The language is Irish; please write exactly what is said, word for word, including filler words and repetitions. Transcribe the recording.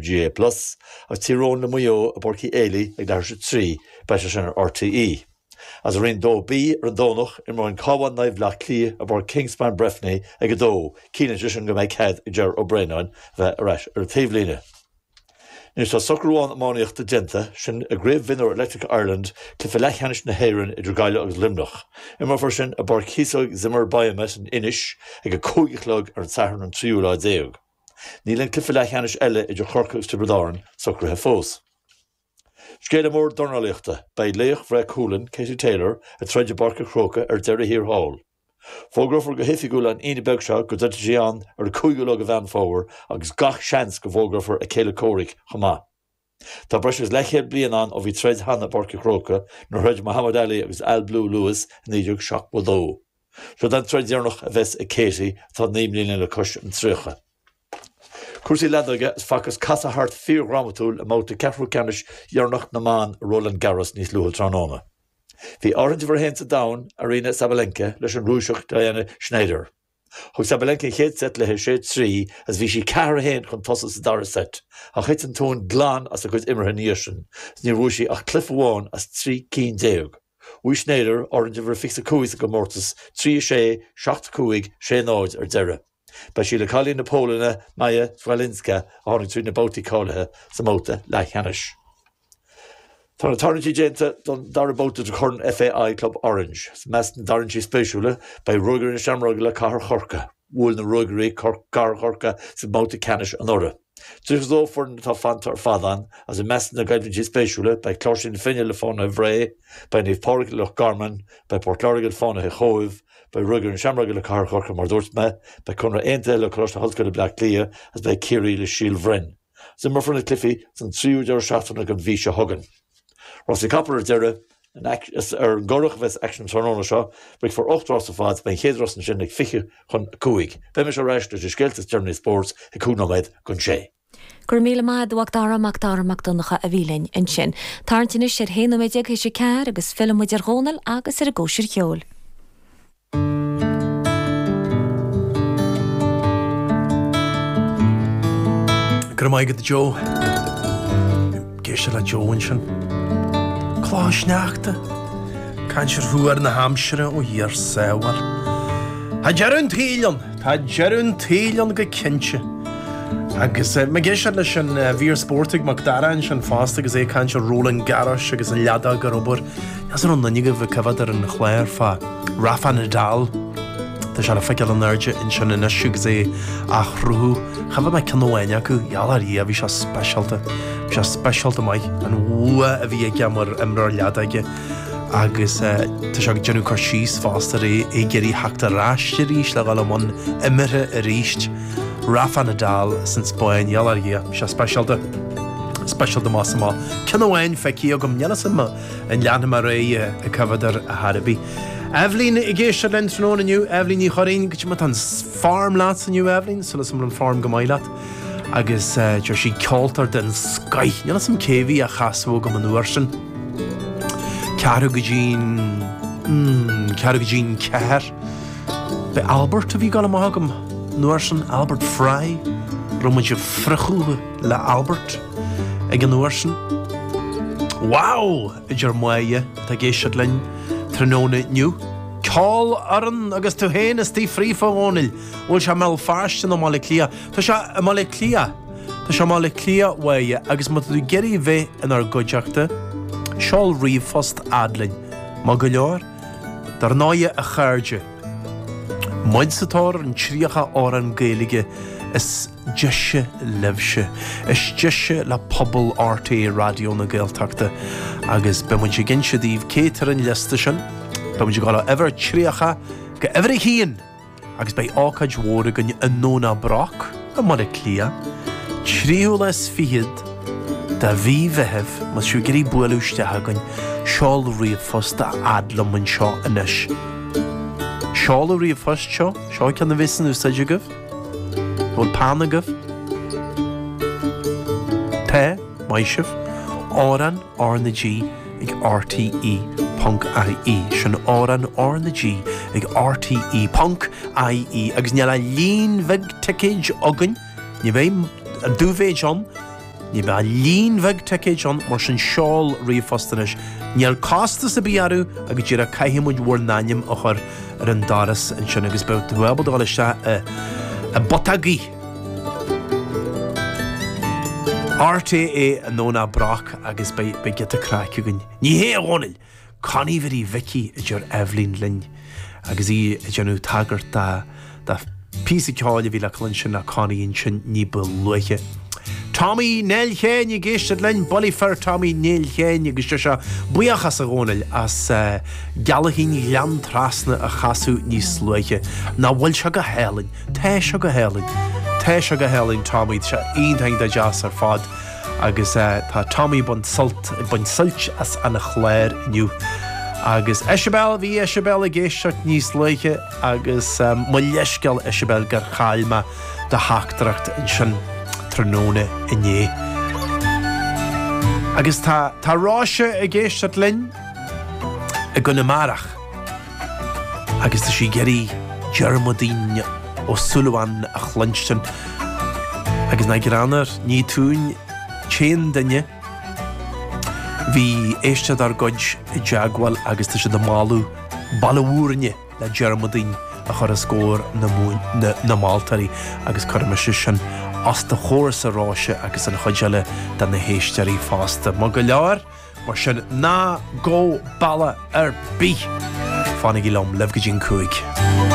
G A A Plus, agus Tír Eoghain le Maigh Eo i bPáirc Uí Éilí ag leathuair tar éis a trí, beidh sé sin ar R T E. As i Roinn dó B ar an Domhnach, imreoidh an Cabhán Naomh Bleá Cliath i bPáirc Kingspan Breffni ag a dó, ciallaíonn sé sin go mbeidh cead ag Ger Ó Braonáin bheith ar ais ar an taobhlíne. Anois tá socrú amháin iománaíochta déanta, sin i gCraobh Mhionúir Electric Ireland, cluiche leathcheannais na hÉireann idir Gaillimh agus Luimneach. Imreofar sin i bPáirc Chíosóg Zimmer Biomet in Inis ag a cúig a chlog ar an Satharn an tríú lá déag. Níl an cluiche leathcheannais eile idir Chorcaigh agus Tiobraid Árann socraithe fós. Scéala mór dornálaíochta, beidh laoch Bhreá Cualann, Katie Taylor, ag troid i bPáirc an Chrócaigh ar deireadh thiar thall. Fógrófar go hoifigiúil an Aoine beag seo go dtroidfidh sí ann ar an cúigiú lá de Mheán Fómhair agus gach seans go bhfógrófar a céile comhraic chomh maith. Tá breis agus leathchéad bliain ann ó bhí troid cheana i bPáirc an Chrócaigh nuair a throid Muhammad Ali agus Al Blue Lewis i naoi déag seachtó a dó. Seo an troid dheireanach a bheas ag Katie atá naoi mbliana le cois an tríocha. Cúrsaí leadóige is facthas casadh thart fíordhrámatúil i mbabhta ceathrú ceannais dheireanach na mban i Roland Garros níos luaithe tráthnóna. Bhí áirithint uimhir a haon sa domhan, Aryna Sabalenka, leis an Rúiseach Diana Shnaider. Thug Sabalenka an chéad seit léi sé trí agus bhí sí ceathair a haon chun tosaigh sa dara seit, ach thit an tóin glan as a cuid imeartha ina dhiaidh sin is níor bhuaigh sí ach cluiche amháin as trí cinn déag. Bhuaigh Shnaider, áirithint uimhir a fiche a cúig sa gcomórtas, trí a sé, seacht a cúig, sé náid ar deireadh. Beidh sí le cailín na Polainne, Maja Chwalińska, a tháinig trí na babhtaí cáilithe sa mbabhta leathcheannais. Tá na tarraingtí déanta don dara babhta de Chorn F A I Club Orange. I measc na dtarraingtí spéisiúla beidh Ruagairí na Seamróige le Cathair Chorcaí. Bhuail na Ruagairí Cathair Chorcaí sa mbabhta ceannais anuraidh. Tríocha dó foireann atá fanta ar fad ann, agus i measc na gcoimhlintí spéisiúla beidh Cláirsí na Finne le Fánaithe Bhré, beidh Naomh Pádraig le Loch Garman, beidh Port Láirge le Fánaithe Chóibh, beidh Ruagairí na Seamróige le Cathair Chorcaí mar dúirt mé, beidh Conradh Aontaithe le Coláiste na hOllscoile Bleá Cliath agus beidh Ciarraí le Síol Bhroin. Imreofar na cluichí san tríú deireadh seachtaine den mhí seo chugainn. Rásaí capall ar deireadh, is ar an gCurrach a bheas aicsean an tráthnóna seo, rithfear ocht rás ar fad, beidh an chéad rás ansin ag fiche chun a cúig. Beidh mise ar ais leis na scéalta is deireanaí spóirt ag cúig nóiméad chun sé. Go raibh míle maith agat, a Mhac Dara, Mac Dara Mac Donncha a bhí linn ansin. Tarraingt anois ar haon nóiméad déag théis a ceathair agus filleann muid ar Dhónal agus ar an gcóisir cheoil. Go raibh maith agat Joe. Ag éisteacht le Joe ansin. Clocha sneachta. Caint ar thuar na haimsire ó Dhia ár sábháil. Tá deireadh an tsaoil ann, tá deireadh an tsaoil ann go cinnte. Agus mé ag éisteacht leis an mhír spóirt ag Mac Dara ansin fosta agus é ag caint ar Roland Garros agus an leadóg ar obair. Níl 's an raibh aon duine agaibh ag coimhéad ar an chlár fá Rafa Nadal. Tá sé le feiceáil in airde ansin anois agus é á chruthú. Choimhéad mé ceann amháin acu, gheall ar Dhia, bhí sé speisialta. Bhí sé speisialta maith, an bhua a bhí aige mar imreoir leadóige. Agus tá sé ag déanamh cur síos fosta ar é ag iarraidh theacht ar ais arís le dhul i mbun imeartha arís. Rafa Nadal san Spáinn, gheall ar Dhia, bhí sé speisialta. Speisialta más amach. Ceann amháin feicthe agam, níl 'fhios a'm an leanfaidh mé ar aghaidh ag coimhéad air ar chor ar bith. Eibhlín ag éisteacht linn tráthnóna inniu, Eibhlín Ní Churraoin, goidé mar tá an form leat inniu Eibhlín, súil agam go bhfuil an form go maith leat. Agus deir sí ceoltóir den scoith, níl 'fhios a'm cé bhí á chasadh agam an uair sin. Ceathrú go dtí'n, mm, ceathrú go dtí'n ceathair. B'é Albert a bhí ag dul amach agam an uair sin, Albert Fry, raibh muid ag friochadh le Albert ag an uair sin. Wow! A deir Máire atá ag éisteacht linn tráthnóna inniu. Ceolfhoireann agus tú féin istigh fríofa, a Dhónaill. Bhfuil sé i mBéal Feirste nó i mBaile Átha Cliath? Tá sé i mBaile Átha Cliath. Tá sé i mBaile Átha Cliath, a Mháire, agus má tá tú ag iarraidh bheith inár gcuideachta, seol ríomhphost fhad linn. Maith go leor? Dar ndóighe, a chairde, muid sa tóir ar an tríocha amhrán Gaeilge is deise libhse, is deise le pobal R T É Raidió na Gaeltachta agus beidh muid ag inse daoibh cé atá ar an liosta sin. Beidh muid ag dul ó uimhir tríocha go uimhir a haon agus beidh ócáid mhór againn i nDomhnach Broc i mBaile Átha Cliath, tríú lá is fichead de mhí Mheithimh. Má tá sibh ag iarraidh bualadh isteach againn, seol ríomhphost a fhad liom anseo anois. Seol an ríomhphost seo, seo ceann a bheas in úsáid agaibh. Bhfuil peann agaibh? Tá, maith sibh. Amhrán R na G ag R T E ponc I E. Sin amhrán R na G ag R T E ponc I E agus níl ach líon bheag ticéid againn, ní bheidh an dúmhéid ann. Ní bheidh ach líon beag ticéid ann mar sin seol ríomhphost anois. Níl costas ar bith orthu agus díreach caithfidh muid bhur n-ainm a chur ar an doras ansin agus beidh tú ábalta dul isteach i i bputógaí. RTÉ i nDomhnach Broc agus beidh beidh giota craic againn. Ní hé a Dhónaill! Connie Mhary Mhicí a deir Eibhlín linn agus í ag déanamh tagairt do phíosa ceoil a bhí le cluinstin ó Connie ansin ní ba luaithe. Tommy Néill Sheáin ag éisteacht linn, Bullaí Fir Tommy Néill Sheáin agus deir sé buíochas a Dhónaill as Gealaichín Ghleann Trasna a chasadh níos luaithe. Nach bhfuil sé go hálainn? Tá sé go hálainn. Tá sé go hálainn Tommy, tá sé iontach iontach deas ar fad. Agus tá Tommy ag baint sult, ag baint suilt as an chlár inniu. Agus Isabel, bhí Isabel ag éisteacht níos luaithe agus mo leithscéal Isabel gur chaill mé do theachtaireacht ansin tráthnóna inné. Agus tá, tá Róise ag éisteacht linn i gConamara. Agus tá sí ag iarraidh Diarmuidín Ó Súilleabháin a chluinstin. Agus nach greannmhar, ní tú an t-aon duine. Bhí éisteoir dár gcuid i dteagmháil agus tá siad ag moladh Baile Mhúirne le Diarmuidín a chur os comhair na na moltóirí agus cuirfidh mise sin os do chomhairsa a Róise agus an chuid eile de na héisteoirí fosta. Maith go leor, mar sin ná gabh bealach ar bith! Fanaigí liom, libh go dtí an cúig.